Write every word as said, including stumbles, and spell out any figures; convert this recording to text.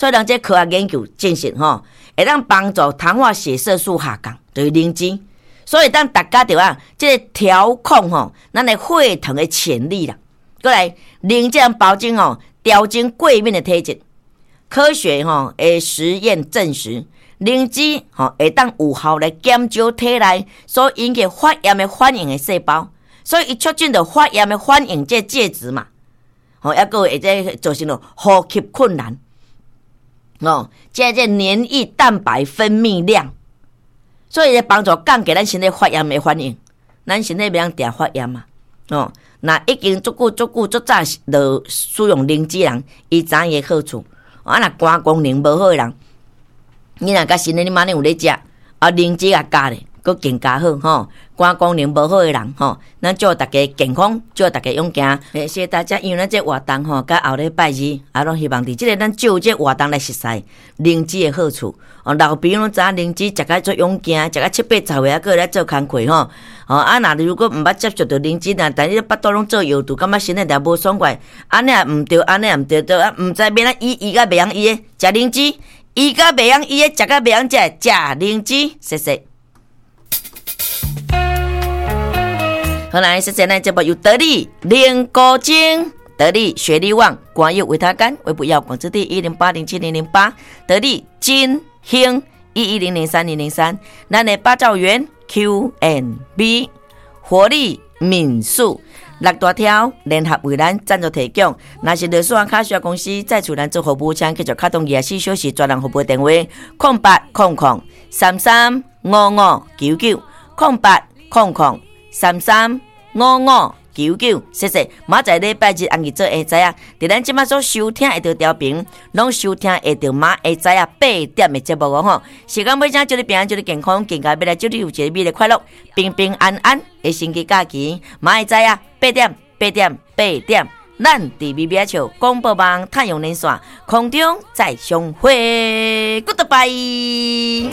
所以人這科學研究證實吼，會當幫助糖化血色素下降，就是靈芝。所以當大家著啊，這个調控吼，咱的血糖的潛力啦。閣來，靈芝保證吼，調整過敏的體質。科學吼的實驗證實，靈芝吼會當有效來減少體內所引起發炎的反應的細胞，所以伊促進著發炎的反應這介質嘛，吼，抑閣會這造成了呼吸困難，哦，這這黏液蛋白分泌量，所以會幫助降低咱身體發炎的反應，咱身體袂曉定發炎嘛，哦，若已經足久足久足早就使用靈芝人，伊知影伊好處。啊，若肝功能無好的人，你若佮身體你馬上有咧食，啊，靈芝也加咧，閣更加好吼。肝功能無好的人吼，咱祝大家健康，祝大家勇健。謝謝大家，因為咱這活動吼，佮後禮拜二，啊，攏希望佇這个咱藉這活動來熟似靈芝的好處。哦，老朋友攏知影靈芝食甲足勇健，食甲七八十歲還閣來做工課吼。哦，啊，若如果毋捌接觸著靈芝，若但你腹肚攏做藥肚，感覺身體定無爽快，按呢也毋對，按呢也毋對，對啊，毋知欲按怎醫，醫甲袂曉醫的，食靈芝，醫甲袂曉醫的，食甲袂曉食，食靈芝，謝謝。好來，謝謝咱節目由得力靈菇精、得力雪利旺、官有維他乾、微不藥廣字第一零八零七零零八、得力金興一一零零三零零三，咱的八兆元 Q and B 活力民宿六大條聯合為咱贊助提供。若是律師卡需要公司再厝咱做服務，請繼續敲動二十四小時專人服務電話：空八空空三三五五九九空八空空三三五五九九，謝謝。明仔載禮拜日暗時做會知影，佇咱這馬所收聽會著調頻，攏收聽會著馬會知影八點的節目哦吼。時間尾聲，祝你平安，祝你健康，更加欲來祝你有一个美麗快樂、平平安安的星期假期。馬會知影八點八點八點，咱佇微微仔笑廣播網太陽連線空中再相會，Goodbye。